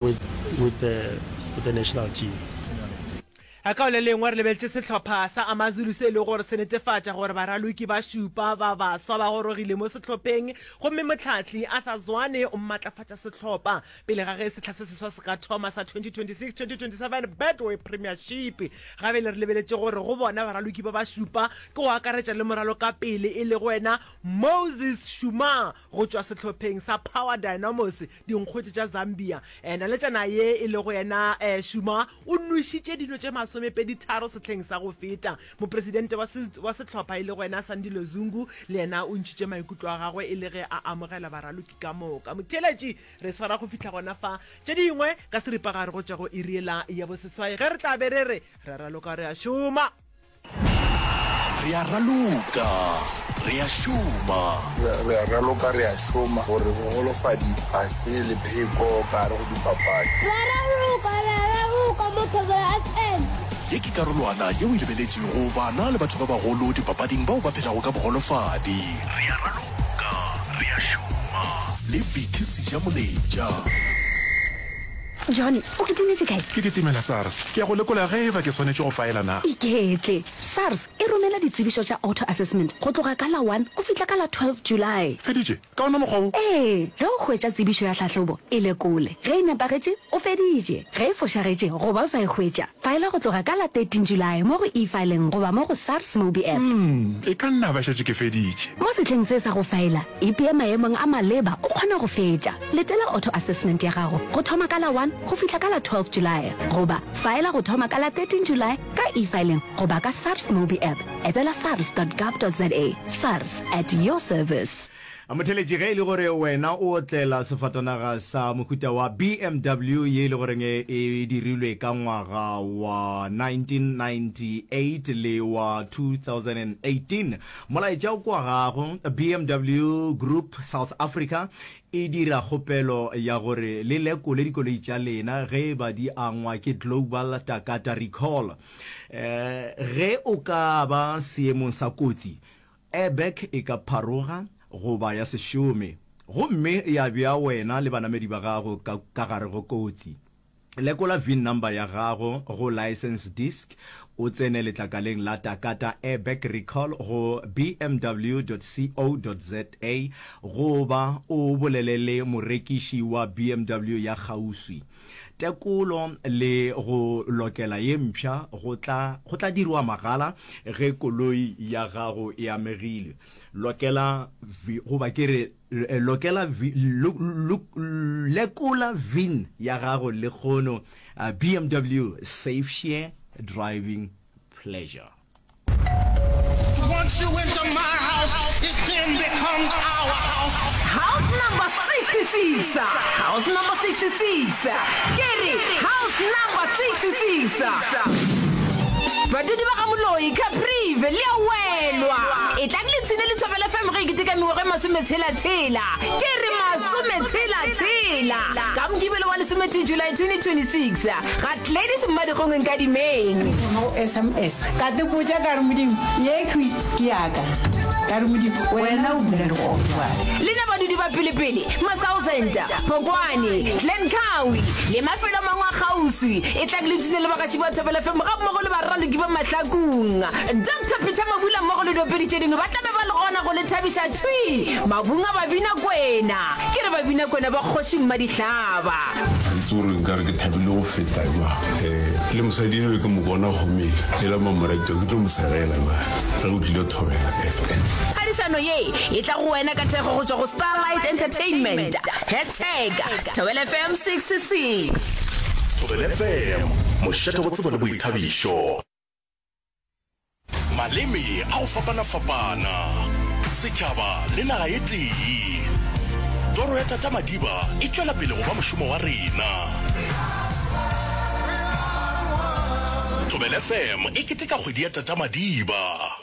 With with the with the national team. Ka go le lengwe re lebeletše sehlopha sa AmaZulu se e lego gore se netefatša gore baraloki ba šupa ba baswa ba gorogile mo sehlopheng gomme mohlahli Arthur Zwane o matlafatša sehlopha pele ga ge sehla se seswa se ka thoma sa 2026-2027 Betway Premiership. Ga bjale re lebeletše gore go bona baraloki ba ba šupa ke go akaretša le moralokapele e lego wena Moses Shuma go tšwa sehlopheng sa Power Dynamos Dinkgwete tša Zambia. Naletšana ye e lego yena Shuma o nwešitše dino tše masomepeditharo sehleng sa go feta. Mopresidente wa wa sehlopha e lego yena Sandile Zungu le yena o ntšhitše maikutlo a gagwe e le ge a amogela baraloki ka moka. Motheeletši re swara go fihla gona fa. Tše dingwe ka seripagare go tšwa go iri yela ya boseswai ge re tla be re re re a raloka re a šoma. Re a raloka, re a šoma. Re a raloka, re a šoma gore bogolofadi ga se lepheko ka gare go dipapadi. Re a raloka, re a raloka mo Thobela FM. Ye ke karolwana yeo e lebeletšego bana le batho ba bagolo dipapading bao ba phelago ka bogolofadi. Re a raloka, re a šoma le Vicky Sejamoletša. John, o kitimetše kae? Ke kitimela SARS. Ke ya go lekola ge e ba ke swanetše go faela na. Iketle. SARS e romela ditsebišo tša auto-assessment go tloga ka la one go fihla ka la 12 July. Feditše? Ka ona mokgwa wo? Ee. Ge o hwetša tsebišo ya tlhahlobo, e lekole. Ge e nepagetše, o feditše. Ge e fošagetše goba o sa e hwetša, faela go tloga ka la 13 July mo go eFiling goba mo go SARS MobiApp. Umm, e ka nna ba šetše ke feditše. Mo sehleng se sa go faela, ipee maemong a maleba o kgone go fetša. Letela auto-assessment ya gago go thoma ka la 1 go fihla ka la 12 Julae goba faela go thoma ka la 13 Julae ka eFiling goba ka SARS MobiApp. Etela sars dot gov dot za. SARS, at your service. Motheeletši, ge e le gore wena o otlela sefatanaga sa mohuta wa BMW ye e le goreng e dirilwe ka ngwaga wa 1998 le wa 2018, molaetša o kwa gago. BMW Group South Africa E dira kgopelo ya gore le lekole dikoloi tša lena ge e ba di angwa ke Global Takata Recall. Ge o ka ba seemong sa kotsi, airbag e ka pharoga goba ya se šome gomme ya bea wena le banamedi ba gago ka ka gare go kotsi. Lekola VIN number ya gago go license disc, o tsene letlakaleng la Takata Airbag Recall go bmw.co.za goba o bolele le morekiši wa BMW ya kgauswi. Tekolo le go lokela ye mpsha go tla go tla dirwa mahala ge koloi ya gago e amegile. Lokela goba ke re Lokela Lekola VIN ya gago lekgono BMW Safe Share Driving Pleasure. Once you enter my house, it then becomes our house. House number 66, house number 66, ke re house number 66. Badudi ba ga Moloi, Caprive, le a welwa. Etlang le tshine le Thobela FM ge e keteka mengwaga e masometshela-tshela. Ke re masometshela-tshela! Ka Mokibelo wa lesometee July 2026, ga Gladys Mmadikgong Nkadimeng. Go sms ka te botša ka re Modimo yekhwi ke ya ka ka re Modimo wena o dula le gona jwale. Lena badudi ba pelepele, Mathousand, Phokwane, Glencoe le mafelo a mangwe a kgauswi, etlang le ipshine le bagaši ba Thobela FM gammogo le baraloki ba Mahlakung. Doctor Peter Mabula mmogo le diopedi tše dingwe ba tla be ba le gona go le thabiša thwi mabung a Babinakwena. Ke re Babinakwena ba Kgoši Mmadihlaba. Ga ke tsebe gore nkare ke thabile go feta jwang. Um le mosadi eno ke mo bona gomele ela mamorato ke tlo mo segela jwale ge o tlile Thobela FM. Phadišano ye e tla go wena ka thekgo go tšwa go Starlight Entertainment. Hashtag Thobela FM 66. Thobela FM, mošate wa tsebo le boithabišo. Maleme a go fapana-fapana, setšhaba le naga e tee. Toro ya Tata Madiba e tšwela pele go ba mošomo wa rena. Thobela FM e keteka kgwedi ya Tata Madiba.